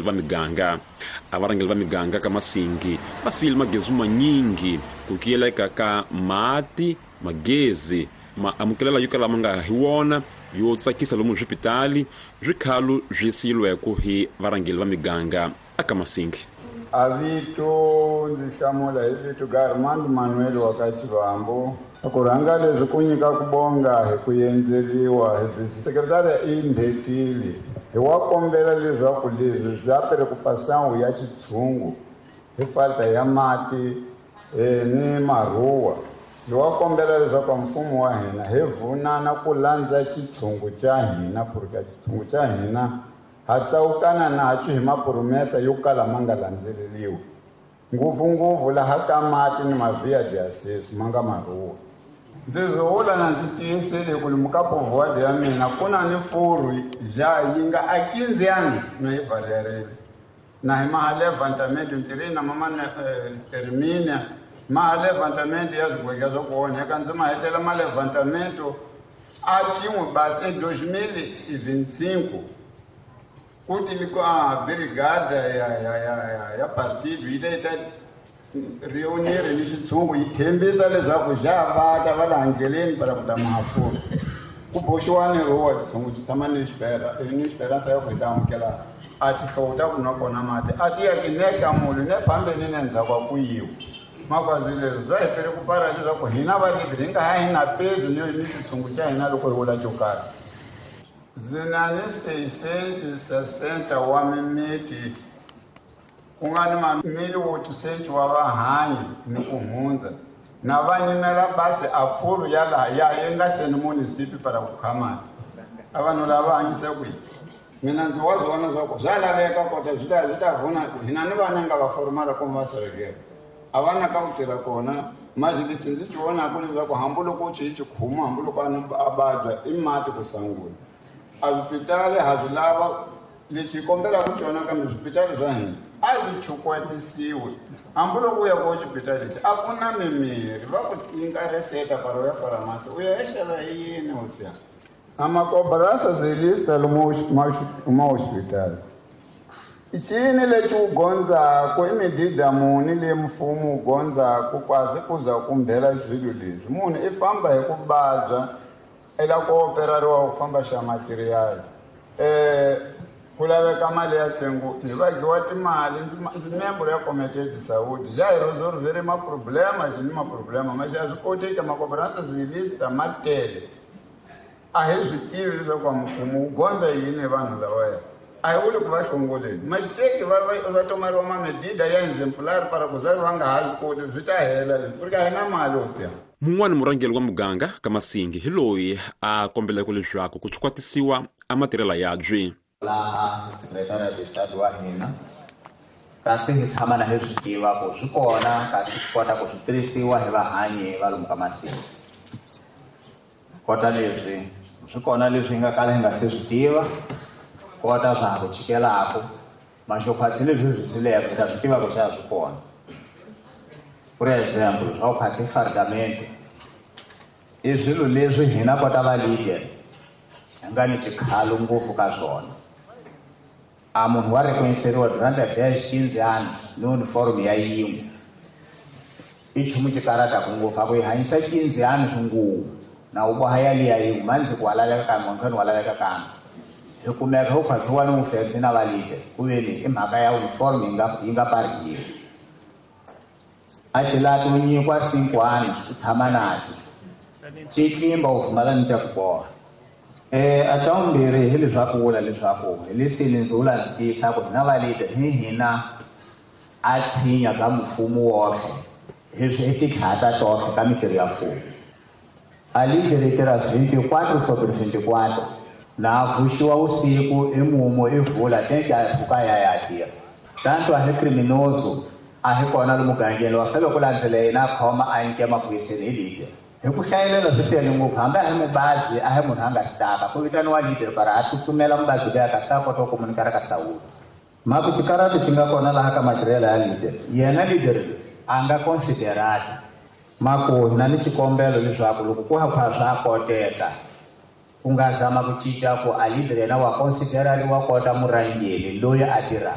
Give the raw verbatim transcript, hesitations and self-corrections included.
Va miganga a varhangeri va miganga ka Masingi va siyile magezi manyingi ku kiyeleka ka mati magezi maamukelela yo kala ma nga hi wona yo tsakisa lomu swipitali swikhalu swi siyilweko hi varhangeri va miganga aka Masingi. A vito ndzi hlamula hi vito Garmand Manuel wa ka Chivambo. Ku rhanga leswi ku nyika ku bonga hi ku endzeriwa hi sekretariya i ndhetile hi wa kombela leswaku leswi swa preocupação ya xitshungu hi falta ya mati ni marhuwa. Hi wa kombela leswaku mfumo wa hina hi vunana ku landza xitshungu xa hina porque xitshungu xa hina ha tsawukana nacho hi mapromesa yo kala ma nga landzeleriwi ngopfungopfu laha ka mati ni mavhiya diasis ma nga marhuwa. Ndzi vula na ndzi tiyisile ku lomu ka povoado ya mina ku na ni furu ja yi nga a quinze anos na yi valerile na hi maha levantamento ntirhini na mama termina maha levantamento ya swigwega swa ku onheka ndzi ma hetela ma levantamento a cin'we basi em dois mil e vinte e cinco kuti a brigada ya ya ya ya partido yi ta yi ta reunir ni xitshungu yi tshembisa leswaku xa va ta va laha ndleleni para ku ta mahafuru ku boxiwa ni rowa xitshungu xi tshama ni xipera ni xiperansa ya ku hi ta amukela a tihlovo ta ku nwa kona mati a ti yaki ne hlamuli ne fambeni ne ndzhaku a ku yiwa makwazi leswi swa hi pele ku para leswaku hina va hi nga ha hi na pezi ni ni xitshungu xa hina loko hi vula xo karhi. Ndzi na ni seiscentos sessenta wa mimiti ku nga ni mamili oitocentos wa vahanyi ni ku hundza na va nyimela basi a furu ya laha ya yi nga seni munisipi para ku kha mati a vanhu lava hanyisa kwihi mina ndzi wa swona swa ku swa laveka kota swi ta swi ta vuna ku hina ni vana nga va formala kumbe va serekela a va na ka ku tirha kona mas lexi ndzi xi vonaka leswaku hambiloko xi xi khuma hambiloko a vabya i mati ku sungula. A swipitali ha swi lava lexi hi kombelaka xona kambe swipitali swa hina a swi chukwatisiwi hambiloko u ya ko xipitali lexi a ku na mimirhi va ku nyika reseta para u ya faramasi u ya ya xava hi yini hosiya. A macobrança zilista lomu ma hospital i cini lexi wu gondzaku i midida muni leyi mfumo wu gondzaku kwazi ku za kumbhela swilo leswi munhu i famba hi ku vabya i lava ku operariwa ku famba xa material eh ku laveka mali ya ntsengo hi vagiwa timali ndzi member ya comité de saúde já hi resolvere maproblema xi ni maproblema mas a swi koteki macobrança zilista ma tele a hi swi tivi leswaku mfumo wu gondza yini vanhu lavaya a hi vuli ku va hlongoleni maxiteki va va tomariwa mamedida ya exemplar para ku za va nga ha swi koti swi ta hela leswi ku ri ka hi na mali hosiya. Mun'wani murhangeri wa muganga ka Masingi hi loyi a kombeleke leswaku ku chukwatisiwa a matirhela yabyi. Laha secretary de Estado wa hina kasi hi tshama na hi swi tiva ku swi kona kasi swi kota ku swi tirhisiwa hi vahanyi va lomu ka Masingi kota leswi swi kona leswi hi nga kala hi nga se swi tiva kota swa ha ku chikelaku maxokhwatsi leswi swi sileke hi ta swi tiva ku xa swi kona. Por exemplo, swa ku khwatsi fardamento i swilo leswi hina kota va leader hi nga ni xikhalo ngopfu ka swona. A munhu wa reconheceriwa durante dez quinze anos ni uniforme ya yin'we i nchumu xi karataku ngopfu a ku yi hanyisa quinze anos nguvu na wu boha yaliya yin'we mandzi ku wa laveka kambe wankhani wa laveka kambe hi kumeka wu khwatsiwa ni wufense na va leader ku veni i mhaka ya uniform yi nga yi nga parihiwi. A cilati wu nyikiwa cinco anos u tshama naco xi tlimba u pfumala ni xa ku boha. Eh a xa vumbirhi hi leswaku vula leswaku hi leswi ndzi vula ndzi tiyisa ku hina va leader hi hina a tshinya ka mfumo woxe hi swi i titlhata toxe ka mintirho ya mfumo. A leader yi tirha vinte e quatro sobre vinte e quatro na vuxiwa usiku i mumu i vula tenke a pfuka ya ya tirha tanto a hi criminoso a hi kona lomu mugangeni wa fele ku landzela yena a khoma a nyike maphoyiseni hi leader. Hi ku hlayelela swi tele ngopfu hambi a hi muvabyi a hi munhu a nga sitaka ku vitaniwa leader para a tsutsumela muvabyi luya kasi a kota ku komunikara ka sawuti. Mhaku xikarati xi nga kona laha ka matirhelo ya leader yena leader a nga considerati maku na ni xikombelo leswaku loko ku ha kha swa koteka ku nga zama ku cinca ku a leader yena wa considerariwa kota murhangeri loyi a tirhaka.